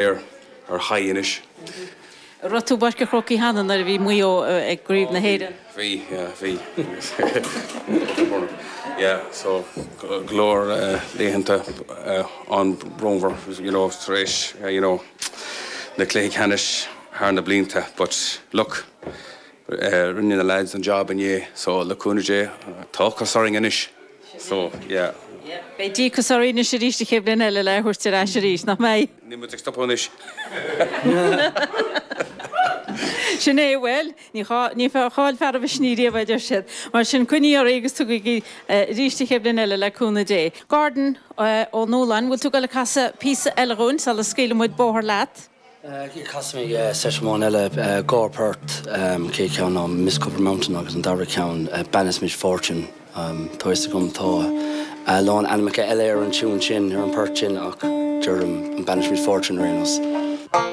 Ar ar high anois. An raibh tú i bPáirc an Chrócaigh cheana nuair a bhí Maigh Eo i gCraobh na hÉireann? Bhí, yeah, bhí. Yeah, so go leor laethanta an-bhrónmhar, you know, tar éis, you know, na cluichí ceannais thar na blianta but look, rinne na lads an job inné so le cúnamh Dé tá ocras orainn anois. So, yeah. Beidh díocas oraibh anois arís an chéad bhliain eile le é a thabhairt ar ais arís, nach mbeidh? Níl muid ag stopadh anois. Sin é, bhuel, ní chaill fear a mhisnigh riamh, a deir siad. Mar sin, coinnigí oraibh agus tugaigí arís an chéad bhliain eile le cúnamh Dé. Gordon Ó Nualláin, bhfuil tú ag dul ag casadh píosa eile dhúinn sula scaoilfidh muid bóthar leat? Casfaidh mé seit amháin eile, dhá phort, an chéad cheann ná Miss Copper Mountain agus an dara ceann Banasmith Fortune. Tá a fhios agam tá a lán ainmneacha eile ar an tiún sin, ar an port sin ach deirim Banasmith Fortune ar aon nós.